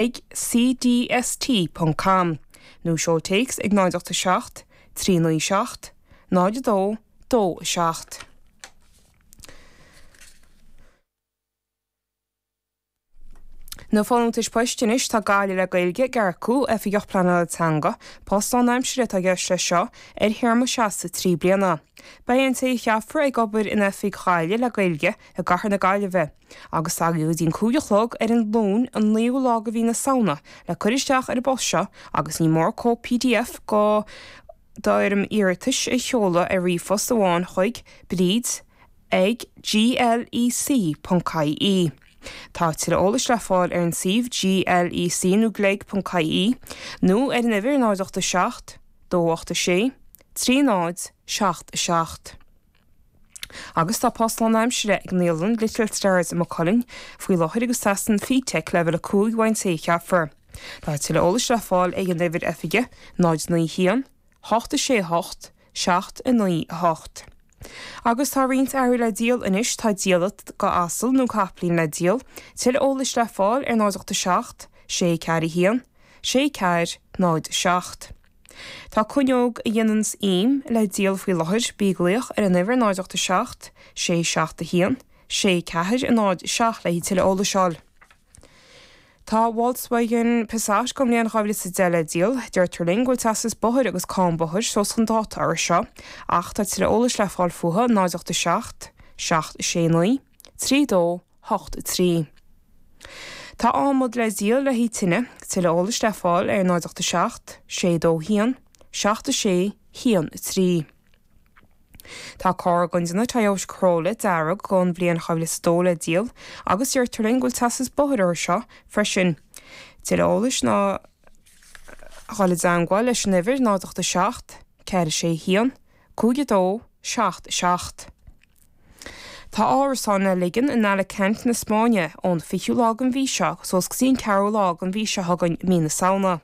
Ag cdst ponc com nó seol téacs ag 0 8 7 3 9 7 0 2 2 7. Na folúntais poist anois, tá Gaillimh le Gaeilge ag earcú Oifigeach Pleanála Teanga, post lánaimsire atá i gceist leis seo, ar théarma seasta 3 bliana. Beidh an té a cheapfar ag obair in oifig Ghaillimh le Gaeilge i gcathair na Gaillimhe. Agus agaibh go dtí an 5 a chlog ar an Luan an 9ú lá de mhí na Samhna le cur isteach ar an bpost seo agus ní mór cóip pdf de d'fhoirm iarratais a sheoladh ar ríomhphost amháin chuig Bríd ag glec ponc ie. Tá tuilleadh eolais le fáil ar an suíomh glec nó gleg ponc ie nó ar an uimhir 0 8 7 2 8 6 3 0 7 7. Agus tá post lánaimsire ag naíolann Little Stars i Maigh Cuilinn faoi láthair agus teastaíonn FETEC leibhéal 5 uaidh an té a cheapfar. Tá tuilleadh eolais le fáil ag an uimhir oifige 0 9 1 8 6 8 7 9 8. Agus tá roinnt earraí le díol anois, tá diallait de asal nó capaillín le díol, tuilleadh eolais le fáil ar 0 8 7 6 4 1 6 4 0 7. Tá cuinneog a dhéananns im le díol faoi láthair, bí ag glaoch ar an uimhir 0 8 7 6 7 1 6 4 0 7 le tuilleadh eolais a fháil. Tá Volkswagen Passat den bhliain 2010 le díol. Deirtear linn go bhfuil teastas bóthair agus cáin bóthair suas chun dáta orthu seo, ach tá tuilleadh eolais le fáil fúthu 0 8 7 7 6 9 3 2 8 3. Tá adhmad le díol le haghaidh tine, tuilleadh eolais le fáil ar 0 8 7 6 2 1 7 6 1 3. Tá carr den déanamh Toyota Corolla dearg den bhliain 2002 le díol agus deirtear linn go bhfuil teastas bóthair orthu seo freisin. Tuilleadh eolais ná dhul i dteangmháil leis an uimhir 0 8 7 4 6 1 5 2 7 7. Tá árasán le ligean in Alicante na Spáinne ón 20ú lá den mhí seo suas go dtí an 4ú lá den mhí seo chugainn, mí na Samhna.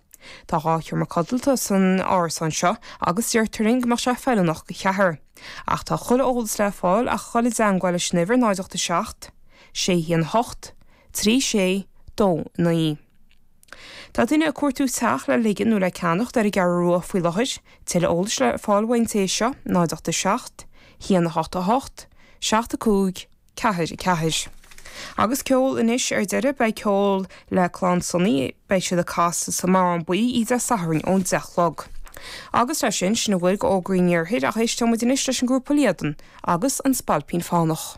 Tá 2 sheomra codlata san árasán seo agus deirtear linn go mbeadh sé feiliúnach do cheathrar. Ach tá chuile eolas le fáil ach dhul i dteangmháil leis an uimhir 0 8 7 6 1 8 3 6 2 9. Tá duine ag cuartú teach le ligean nó le ceannacht ar an gCeathrú Rua faoi láthair. Tuilleadh eolais le fáil uaidh an té seo, 0 8 7 1 8 8 7 5 4 4. Agus ceol anois ar deireadh, beidh ceol le Clann Sonaí, beidh siad ag casadh sa mBarrán Buí oíche Dé Sathairn ón 10 a chlog. Agus leis sin, sin a bhfuil d'fhógraí an Iarthair ach éisteoidh muid anois leis an ngrúpa Líadan agus An Spailpín Fánach.